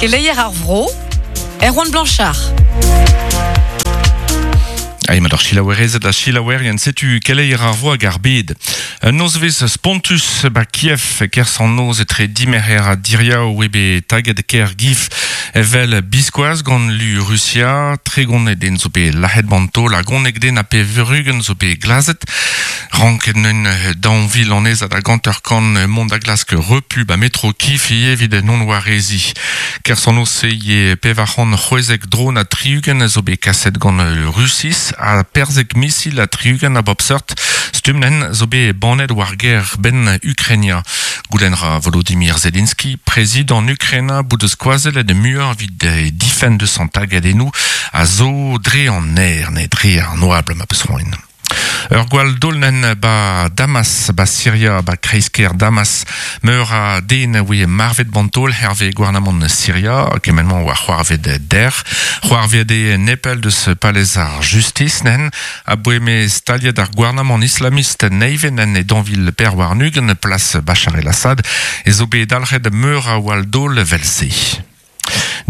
Keleier ar vro, Erwan Blanchard. Ai mat ar selaouerezed ha selaouerien, setu keleier ar vro hag ar bed. Un nozvezh spontus ba Kiev, kerzh an noz etre dimerc'her ha diriaou eo bet taget kêr Giv evel biskoazh gant lu Rusia. 30 den zo bet lazhet ganto, hag 11 den ha 80 zo bet glazet. Ranket neun 2000 annezad hag 50 mont da glask repu ba metro Kiev ivez evit non wareziñ. Kerzh an noz-se eo 460 dron ha 60 zo bet kaset gant Rusiz ha 15 misil ha 60 a bep seurt stumm zo bet bannet war gêr-benn Ukraina. Goulenn ra Volodymyr Zelensky, prezidant Ukraina, bout eus skoazellet muioc'h evit difenn deus an tagadennoù a zo dre an aer, ne dre an oabl ma peus c'hoant. Ur gwall daolenn ba Damas, ba Siria, ba kreiz-kêr Damas. Meur a den a oe marvet bantol hervez gouarnamant Siria, kement-mañ oa c'hoarvet der. C'hoarvet eo nepell deus palez ar justis nen, aboe m'eo staliet ar gouarnamant islamist nevez en e 2024 plas Bachar el-Assad, ez zo bet dalc'het meur a wall daol evel-se.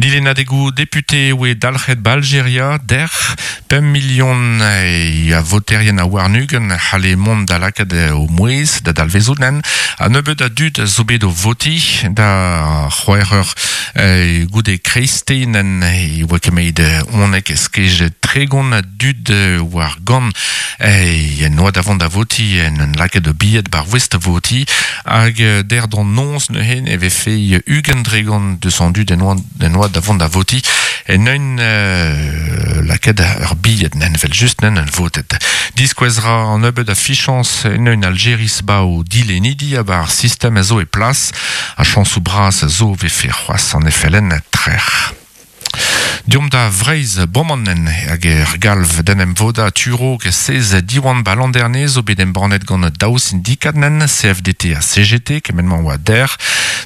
Dilennadegoù depute e oe dalc'het ba Aljeria dec'h. 5 milion a voterien a warn-ugent c'halle mont da lakaat o mouezh da dalvezout nen. Ha nebeut a dud zo bet o votiñ da c'hwec'h eur goude kreisteiz nen e oa ket 11 skej 30 a dud war gant en oa da vont da votiñ en un lakaat o bilhed bar voest votiñ. Hag der d'an noz neuze e vefe 20% deus an dud en oa da vont da votiñ en un lakaat ur bilhed nen vel just nen un votet. Diskouez ra an nebeud a fichañs en un Aljeris ba o dilennidi ha ba ar sistem a zo e plas ha chañsoù bras a zo vefe c'hoazh an FLN trec'h. Deomp da Vreizh Bomanen hag er galv d'en em vodañ tu-raok sez Diwan ba Landerne zo bet embannet gant daou sindikad nen, CFDT ha CGT, kement-mañ oa dec'h.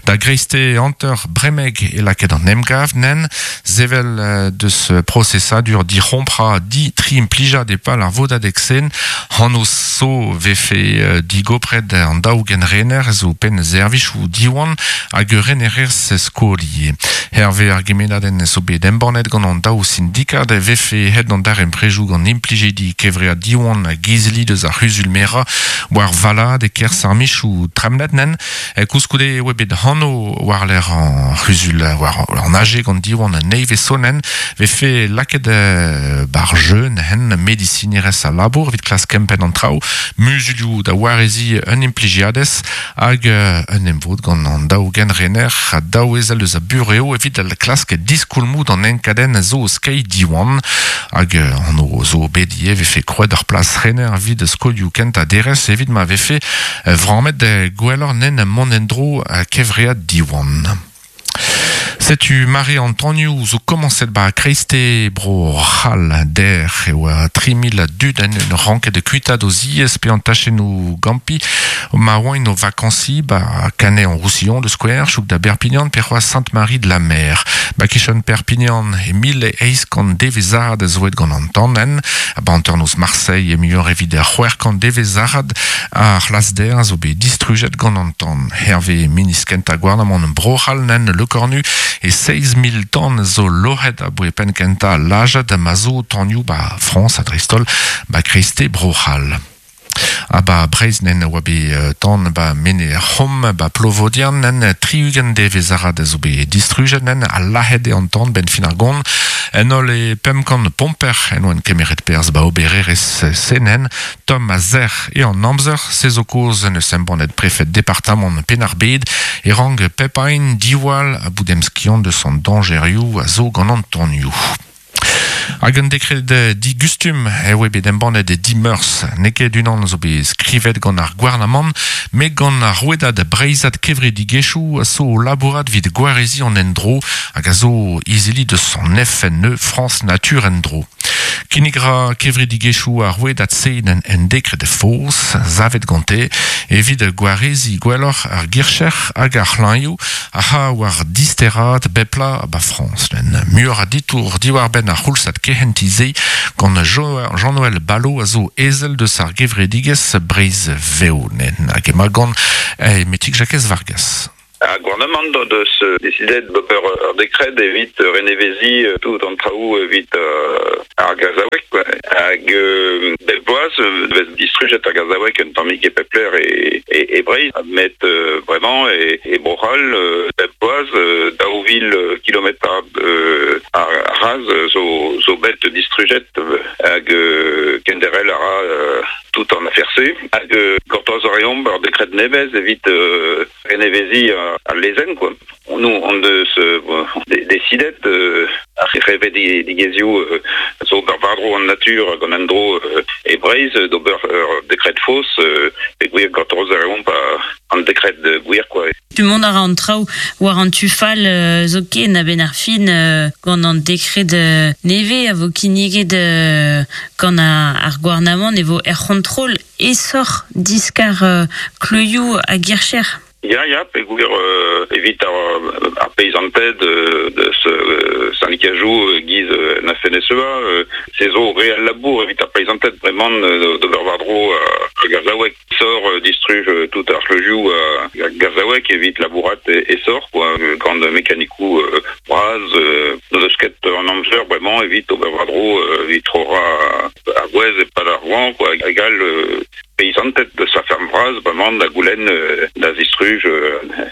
Da greisteiz hanter Bremeg e lakaet an emgav nen, sevel deus prosesadur dic'homprañ di tri implijad e-pal ar vodadeg-sen. Anv zo vefe digopret an daou genrener zo penn servijoù Diwan hag ur renerez skol ivez. Hervez ar gemennadenn zo bet embannet gant an daou sindikad e vefe aet an darempredoù gant implijidi kevread Diwan hag izili deus ar c'huzul-merañ war valad e-kerzh ar michoù tremnet nen. Koulskoude e oa bet anv war-lerc'h an c'huzul war an AG gant Diwan nevez sonenn vefe lakaet bar jeun hen medisinerezh a labour evit klask kempenn an traoù, muzulioù da wareziñ un implijiadez hag un emvod gant an daou genrener ha daou ezel eus a burev evit klask diskoulmoù d'an enkadenn zo o skeiñ Diwan hag anv zo bet ivez vefe krouet ur plas rener evit skolioù kentañ derez evit ma vefe vrammet gwelloc'h nen mont en-dro kevread Diwan. Setu mare an tanioù zo komañset ba kreisteiz bro C'hall dec'h e oa 3000 a dud en un ranket kuitaat o ziez pe an tachennoù gampi ma oaint o vakañsiñ ba Canet-en-Roussillon da skouer, chouk da Berpignan pe c'hoazh Sainte-Marie-de-la-Mer. Ba kichen Perpignan e 1800 devezhad a zo aet gant an tan en, ba hanternoz Marseille e muioc'h evit 600 devezhad Ar c'hlasder a zo bet distrujet gant an tan. Hervez ministr kentañ gouarnamant Bro-C'hall nen Lecornu e 7 000 tan zo loc'het aboe penn-kentañ al lajad ma zo tanioù ba Frañs ha dreist-holl ba kreisteiz Bro-C'hall. Ha ba Breizh nen a oa bet tan ba Menez-C'hom ba Plovodiern nen 60 devezh arat a zo bet distrujet nen ha lazhet eo an tan 'benn fin ar gont. En holl e 500 pomper en oant kemeret perzh ba obererezh se nen. Tomm ha sec'h eo an amzer, se zo kaoz en deus embannet prefed departamant Penn-ar-Bed e rank pep ein diwall ha bout emskiant eus an dañjerioù a zo gant an tonioù. Hag un dekred digustum eo bet embannet e dimeurzh. N'eo ket unan zo bet skrivet gant ar gouarnamant, met gant ar rouedad breizhat kevredigezhioù a zo o labourat evit gwareziñ an endro hag a zo izili deus an FNE France Nature En-dro. Kinnig ra kevredigezhioù ar rouedad-se en dekred faos savet gante evit gwareziñ gwelloc'h ar gircher hag ar c'hlañioù a c'ha war disteraat bep bloaz ba Frañs. Muioc'h a ditour diwar-benn ar c'houlzad kehentiñ-se gant Jean-Noël Ballot a zo ezel deus ar gevredigezh Breizh Vev. Hag emañ gant Metig Jakez Vargas. Ar gouarnamant o deus desidet d'ober ur dekred evit reneveziñ tout an traoù evit ar gazaoueg quoi. Hag bep bloaz e vez distrujet ar gazaoueg un tammig e pep lec'h e, e Breizh, met bremañ e, e Bro-C'hall bep bloaz 2000 kilometrad ar raz zo, zo bet distrujet hag kenderc'hel a ra tout an afer-se. Hag gortoz a reomp ur dekred nevez evit reneveziñ al lezenn quoi. Nous on deus desidet ar c'hevredigezhioù zo ober war-dro an natur hag an endro e Breizh d'ober ur dekred faos peogwir gortoz a reomp an dekred gwir quoi. Mont a ra an traoù war an tu fall zoken a-benn ar fin gant an dekred nevez a vo kinniget gant ar gouarnamant e vo er c'hontrol aesoc'h diskar kleuzioù hag ircher. Ya, ya, peogwir evit ar peizanted deus syndikajoù e-giz an FNSEA, se zo re al labour evit ar peizanted bremañ d'ober war-dro ar gazaoueg. Sort distruj tout ar c'hleuzioù ar gazaoueg evit labourat aesoc'h quoi, gant mekanikoù bras. N'o deus ket an amzer bremañ evit ober war-dro evit troc'hañ ar gwez e-pad ar goañv quoi, hag all. Peizanted deus ar ferm vras bremañ da goulenn da zistruj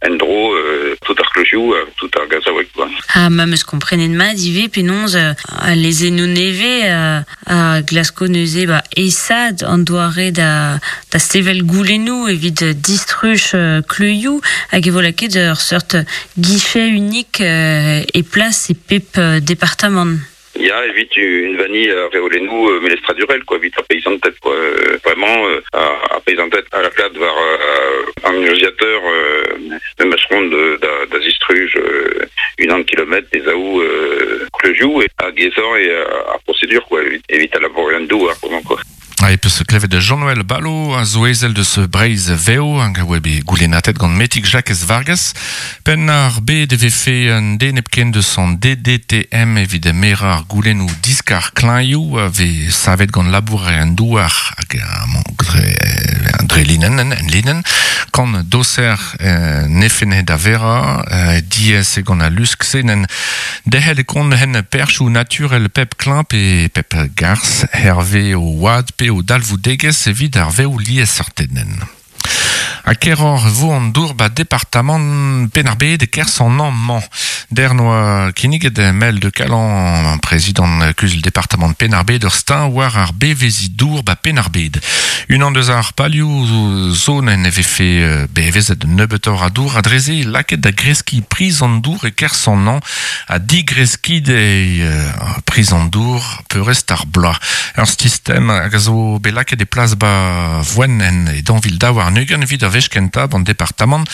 en-dro tout ar kleuzioù, tout ar gazaoueg quoi. Ha ma 'm eus komprenet mat ivez penaos al lezennoù nevez a glasko neuze ba aesaat an doare da da sevel goulennoù evit distruj kleuzioù hag e vo lakaet ur seurt guichet unik e plas e pep departamant. Ya, evit unvaniñ ar reolennoù melestradurel quoi, evit ar peizanted quoi. Vraiment ar peizanted a lakaat war an urzhiateur memes ront da, da zistruj unan kilometr pe zaou kleuzioù hag aesoc'h eo ar prosedur quoi, evit al labourerien-douar quoi. Ha e peus klevet Jean-Noël Ballot a zo ezel deus Breizh Vev hag a oa bet goulennatet gant Metig Jakez Vargas. Penn ar bed e vefe un den hepken deus an DDTM evit merañ ar goulennoù diskar klañioù a vez savet gant labourerien douar hag dre linenn en linenn. Kant doser nefene da verañ diaes eo gant al lusk-se n'en Derc'hel e kont hen perzhioù naturel pep klañv pe pep garzh hervez o oad pe o dalvoudegezh evit ar vev liesseurted. Ha keroc'h e vo an dour 'ba departamant Penn-ar-Bed e-kerzh an hañv-mañ. Dec'h 'noa kinniget Mel de Calan, prezidant kuzul departamant Penn-ar-Bed, ur steuñv war ar beveziñ dour 'ba Penn-ar-Bed. Unan deus ar palioù zo ne vefe bevezet nebeutoc'h a dour ha dre-se lakaet da greskiñ priz an dour e-kerzh an hañv ha digreskiñ eo priz an dour peurrest ar bloaz. Ur sistem hag a zo bet lakaet e plas 'ba Voenen e 2022 evit ar wech kentañ 'ban departamant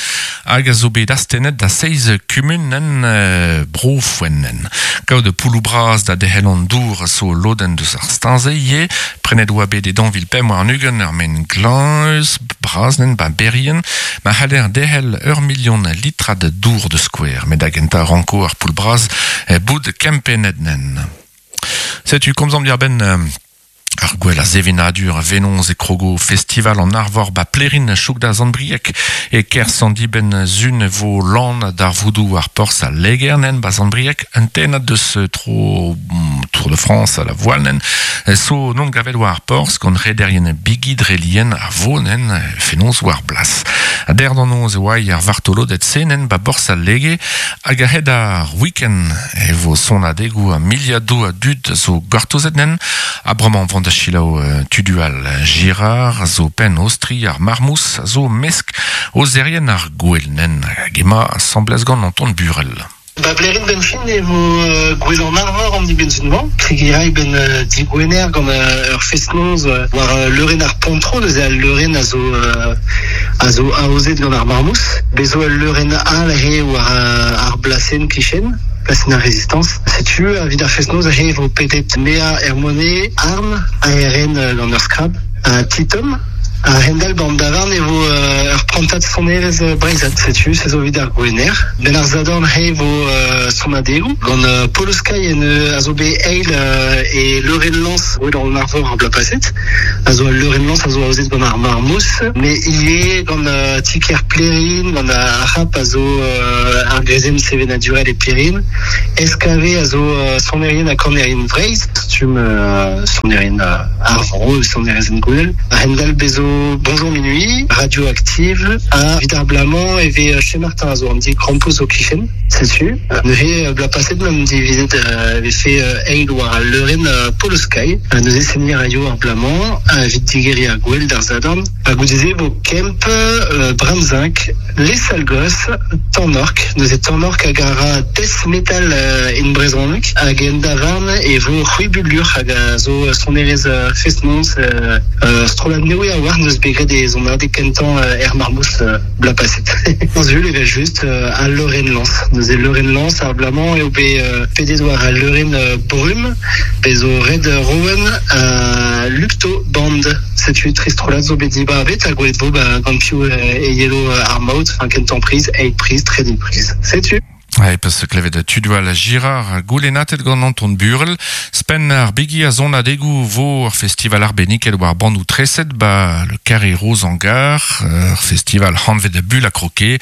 hag a zo bet astennet da seizh kumun en Bro Foenen. Kaout poulloù bras da derc'hel an dour a zo lodenn deus ar steuñv-se ivez. Prenet oa bet e 2025 ur maen glañs bras nen 'ba Berrien ma c'haller derc'hel ur milion litrad dour da skouer. Met da gentañ ranko ar poull bras bout kempennet nen. Setu komzomp diàr-benn ar gwell a sevenadur a venoz e krogo festival an Arvor ba Plerin chouk da Sant-Brieg e kerzh an dibenn sun e vo lan darvoudoù ar porzh a Legernen ba Sant-Brieg un tennad deus tro Tour de France a la Voalnen so non gavet war ar porzh gant rederien bigi dre lien a vonen fenoz war blas. A der d'an noz e oa ar vartoloded senen ba borzh al Lege hag a-hed ar week-end e vo sonadegoù ha miliadoù a dud zo gortozet nen ha bremañ vont da selaou Tudual Girard a zo penn ostri ar Marmous a zo mesk ozerien ar gouel nen hag ema asambles gant Anton Burel. Ba Blerin benn-fin e vo Gouel an Arvor an dibenn-sizhun-mañ. Kregiñ a ray 'benn digwener gant ur fest-noz war leurenn ar Pontro. Neuze al leurenn a zo a zo aozet gant ar Marmous. Bez zo ul leurenn all aze war ar blasenn kichen, plasenn ar Rezistañs. Setu evit ar fest-noz aze e vo pedet Mea Hermonet, Arm, ARN gant ur skrab, ha Titom. A-hend-all 'ba an davarn e vo ur prantad sonerezh breizhat, setu se zo evit ar Gwener. Benn ar Sadorn he vo sonadegoù gant Polo Sky en a zo bet eil e leurenn-lañs Gouel an Arvor ar bloaz paset, a zo al leurenn-lañs a zo aozet gant ar Marmous, met ivez gant ti-kêr Plerin, gant ar C'hap a zo ar greizenn sevenadurel e Plerin, SKV a zo sonerien ha kanerien Vreizh, stumm sonerien ar vro, sonerezh en-gouel. A-hend-all bez zo Bonjour Minuit, Radioactive, ha evit ar bloaz-mañ e vez Chez Martin a zo an di krampouezh o kichen, setu. Neuze bloaz paset 'mamp divizet e vefe eil war al leurenn Polo Sky. Neuze seniñ a raio ar bloaz-mañ evit digeriñ ar gouel d'ar Sadorn. Ha goude-se e vo Kemp, Bramzinc, Les Sales Gosses, Tanork. Neuze Tanork hag a ra death metal en brezhoneg. Hag en davarn e vo C'hwibulur hag a zo sonerezh fest-noz strollad nevez a-walc'h n'eus bet graet e sonadeg kentañ er Marmous bloaz paset. Sul evel-just al leurenn-lañs. Neuze leurenn-lañs ar bloaz-mañ eo bet pedet war al leurenn Brum. Bez zo red Rowan ha Lupto Band. Setu tri strollad zo bet dibabet ha gwelet vo ba gant piv e yelo ar maout, enfin kentañ priz, eil priz, trede priz. Setu. E peus klevet Tudual Girard goulennatet gant Anton Burel. Spenn ar bigi a sonadegoù vo ur festival arbenniket war bannoù treset ba le Carré Rose en Gare, ur festival hanvet Bulle à croquer.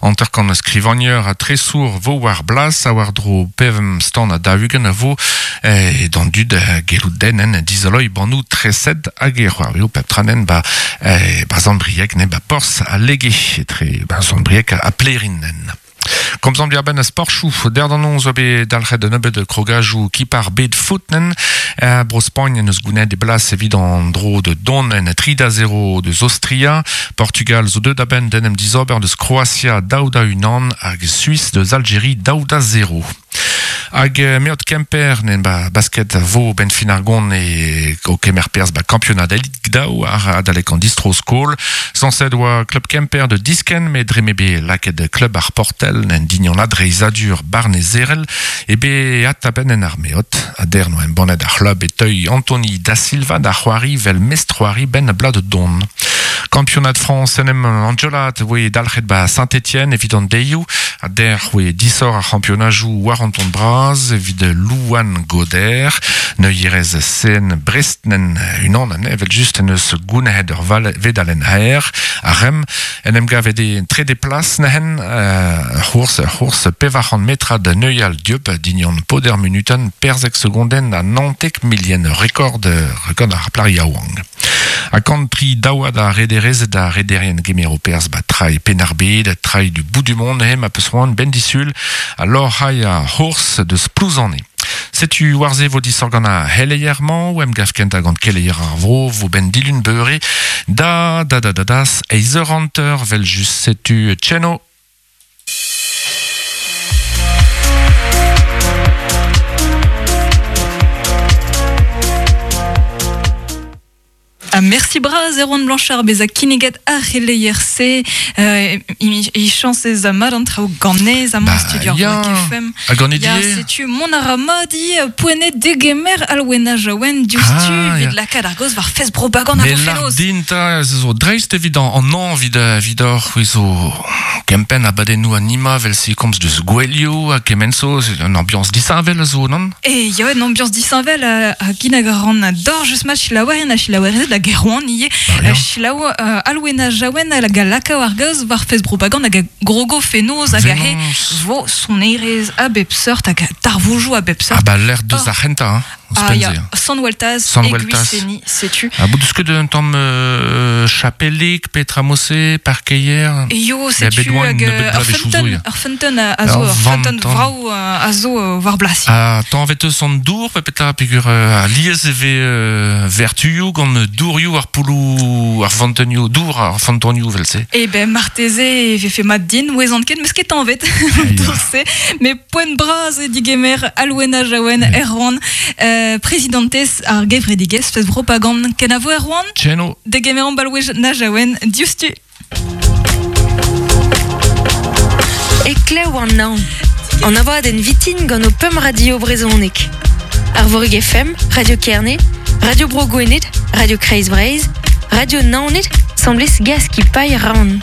Hanter-kant skrivagner ha tresour vo war blas ha war-dro pemp stand ha 40 a vo e d'an dud gellout den dizoloiñ bannoù treset hag e c'hoarveo pep tra nen ba ba Sant-Brieg ne ba porzh al Lege etre ba Sant-Brieg ha Plerin nen. Komzomp diarbenn a sporchoù. Der d'an noz oa bet dalc'het un nebeud krogajoù kip ar bed foot nen. Bro-Spagn en eus gounet e blas evit an dro de dont en 3-0 deus Aostria. Portugal zo deuet a-benn d'en em dizober deus Kroatia 2-1 hag Suis deus Algeri 2-0. Hag meot Kemper nen ba basket vo ben fin ar gont e o kemer perzh ba kampionad Elite daou ar adalek an distro-skol. Sañset oa klub Kemper de diskenn met dre m'eo bet lakaet klub ar Portel en dignon adreizhadur barnezerel e bet atabenn en ar meot. A der noa embannet ar c'hlub e teuy Anthony da Silva da c'hoari vel mestr-c'hoari benn bloaz de don. Kampionad Frañs en em anjolat voe dalc'het ba Saint-Étienne evit an deioù. A der voe disoc'h ar c'hampionajoù war an ton bras evit Louane Goder. Neuierez sen Brest-nen unan anezhe evel-just en deus gounezet ur vedalenn aer. Ar Rem en em gavet e trede plas neuzen ur c'hours ur c'hours 400 metrad neuial dieub dignon poder munutenn perzek segondenn ha 19 milien rekord rekord ar plac'h yaouank. Ha kant tri daouad a rederezed ha rederien gemero perzh ba trai Penn-ar-Bed, trai du bout du monde he ma peus c'hoant benn disul ha lorc'hañ ar c'hours deus Plouzane. Setu war-se vo disoc'h gant ar c'heleier-mañ, o emgav kentañ gant keleier ar vro vo benn dilun beure da da da da das eizh eur hanter 'vel just setu Tcheno. Ha mersi bras Erwan Blanchard bezañ kinniget ar c'heleier-se. Euh, e chañsez mat an traoù ganez amañ studio ar FM. Ha ganit Ya, setu mont a ra mat ivez poent degemer Alwena Jaouen diouzhtu ah, evit lakaat ar gaoz war fest propagande ar fenoz. din 'ta zo dreist evit an hañv evit evidoc'h c'hwi zo kempenn abadennoù anima vel-se komz deus gouelioù ha kement zo un ambiañs disheñvel a zo non? E ya, un ambiañs disheñvel ha kinnig a ran d'hor just ma selaouerien ha selaouerezed da Gerwan ivez. Selaou Alwena Jaouen hag a lakao ar gaoz war fest propagande hag a grogo fenoz hag ahe vo sonerezh a bep seurt hag darvoudoù a bep seurt. Ah bah lec'h deus ar c'hentañ hein. Ah ya, Sant Weltaz, Sant Weltaz. Setu. Ah, bout deus ket un tamm chapelig, petra mose, parkeier? Yo, setu hag ur feunteun a zo, ur feunteun vrav a zo war blas. Ah, tañvet eus an dour, pe petra, peogwir alies e vez vertuioù gant dourioù ar pouloù, ar fantenioù, dour ar fantonioù vel-se. Eh ben, marteze e vefe mat din, ouezan ket, meus ket tañvet dour-se, mais poent bras eo digemer Alwena Jaouen Erwan, prezidantez ar gevredigezh Fest Propagande. Kenavo Erwan? Tcheno. Degemeromp Alwena Jaouen diouzhtu. E klev an naon. An abadenn vitin gant ho pemp radio brezhonek. Arvorig FM, Radio Kerne, Radio Bro Gwened, Radio Kreiz Breizh, Radio Naoned. Semblez gas ki paille ran.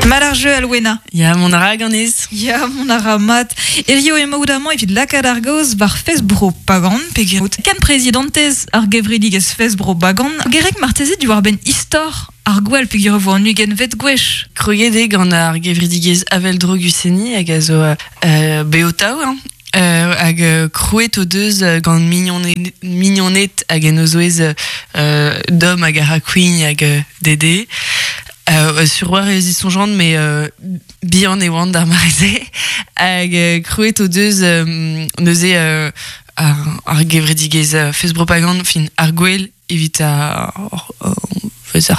Mat ar jeu Alwena. Ya, mon ara ganez. Ya, mon ara mat. Erio emaout amañ evit lakaat ar gaoz war Fest-Bro Pagan, pe out ken prezidentez ar gevredigezh Fest-Bro Bagan. Gerek marteze diwar-benn istor ar gwell peogwir e vo an ugentvet gwech. Kroget eo gant ar gevredigezh Avel-dro Guseni hag a zo bev-tav, hein. Hag krouet o deus gant mignoned hag en o zouez Dom hag Araquign hag Dede. Sur war e zisoñjan mais bihan e oant d'ar mare-se. Hag krouet o deus neuze ar gevredigezh Fest Propagande, fin ar gwel evit ar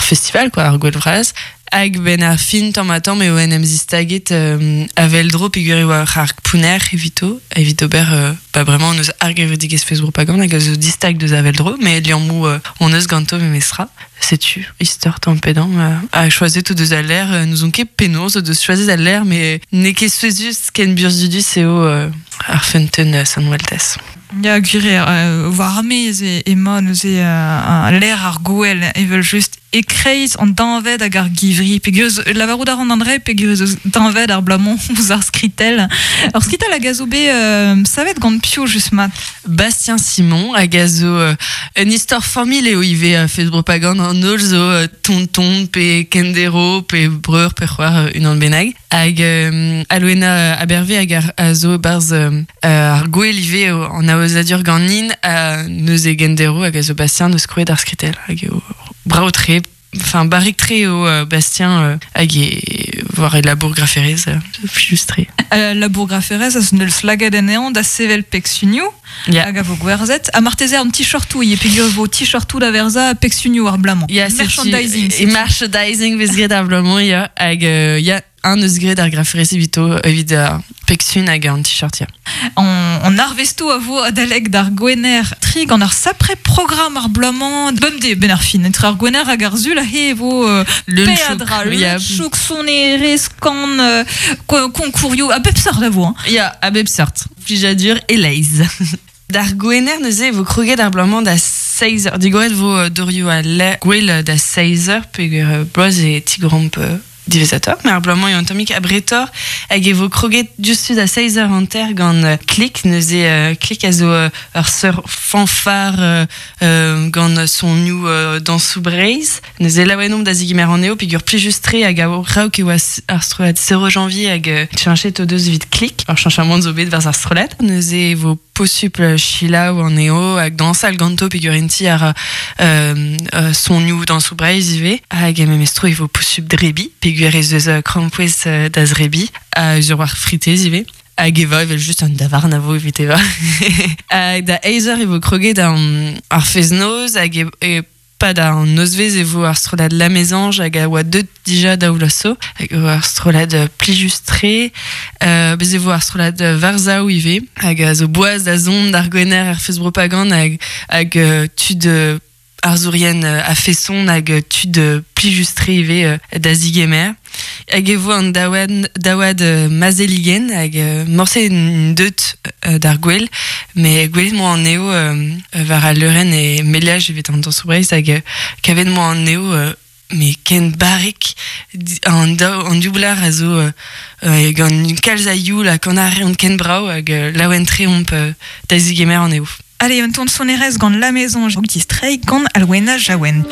festival quoi, ar gwel vras. Hag ben ar fin tamm-ha-tamm eo en em zistaget avel-dro peogwir e oa ar pounner evito, evit ober ba bremañ hon eus ar gevredigezh Fest Propagande hag a zo distag deus avel-dro, mais liammoù hon eus ganto memestra. Setu istor tamm pe damm ha choazet o deus al lec'h, n'ouzon ket penaos o deus choazet al lec'h, mais n'eo ket souezhus ken burzhudus eo ar feunteun Sant-Weltaz. Ya, gwir eo, war ar maez emañ neuze lec'h ar gouel, evel-just, e-kreiz an deñved hag ar givri. Peogwir eus, lavarout a ran an dra peogwir ez eus deñved ar bloaz-mañ ouzh ar skritell. Ur skritell hag a zo bet savet gant piv just mat? Bastien Simon hag a zo un istor familh eo ivez Fest Propagande an holl zo tonton pe kendero pe breur pe c'hoar unan bennak. Hag Alwena Aberve hag a zo e-barzh ar gwel ivez an aozadur ganin neuze gendero hag a zo Bastien deus krouet ar skritell hag eo brav-tre, enfin barrek-tre eo Bastien hag e war e labour graferezh plijus-tre. Labour graferezh a zo neus lakaet anezhañ da sevel pegsunioù hag a vo gwerzhet. Ha marteze an t-shirtoù ivez peogwir e vo t-shirtoù da verzañ pegsunioù ar bloaz-mañ. Ya, merchandising. E merchandising vez graet ar bloaz-mañ, ya. Hag ya, un eus graet ar graferezh evito, evit ar pegsun hag an t-shirt, ya. An arvestoù a vo adalek d'ar Gwener tri gant ar sapre programm ar bloaz-mañ. Bemdez, benn ar fin, entre ar Gwener hag ar Sul aze e vo peadra, leun-chouk, sonerezh, kan, konkourioù, a bep seurt a vo. Hein. Ya, a bep seurt. Plijadur e-leizh. D'ar Gwener neuze e vo kroget ar bloaz-mañ da seizh eur. Digoret vo dorioù al gwel da seizh eur peogwir bloaz e tigoromp diwezhatoc'h, met ar bloaz-mañ eo un tammig abretoc'h hag e vo kroget diouzhtu da seizh eur hanter gant Klik. Neuze Klik a zo ur seurt fanfare gant sonioù dañsoù Breizh. Neuze laouen omp da zegemer anezho peogwir plijus-tre hag a-raok e oa ar strollad Zero Janvier hag cheñchet o deus evit Klik. Ur cheñchamant zo bet barzh ar strollad. Neuze e vo posupl selaou anezho hag dañsal ganto peogwir int-i a ra sonioù dañsoù Breizh ivez. Hag memes tro e vo posupl drebiñ peogwir ez eus krampouezh da zrebiñ ha eus ur war fritez ivez. Hag evañ evel-just un davarn a vo evit evañ. Hag da eizh eur e vo kroget ar fest-noz hag e Pad an nozvezh e vo ar strollad La Mésange hag a oa deuet dija daou vloaz zo, hag e vo ar strollad plijus-tre. Bez e vo ar strollad Varsav ivez, hag a zo boaz da zont d'ar Gwener er fest propagande hag, hag tud arzourien a-feson hag tud plijus-tre ivez da zigemer. Hag e vo an daouad, daouad Mazeligen hag morse deut d'ar gwel, met gwelet 'moa anezho war al leurenn e Meliaj evit an dañsoù Breizh hag kavet 'moa anezho met ken barrek an daou an div blac'h a zo gant kalz a youl ha kan a reont ken brav hag laouen-tre omp da zegemer anezho. Allez, un ton sonerezh gant La Maison, distreiñ gant Alwena Jaouen.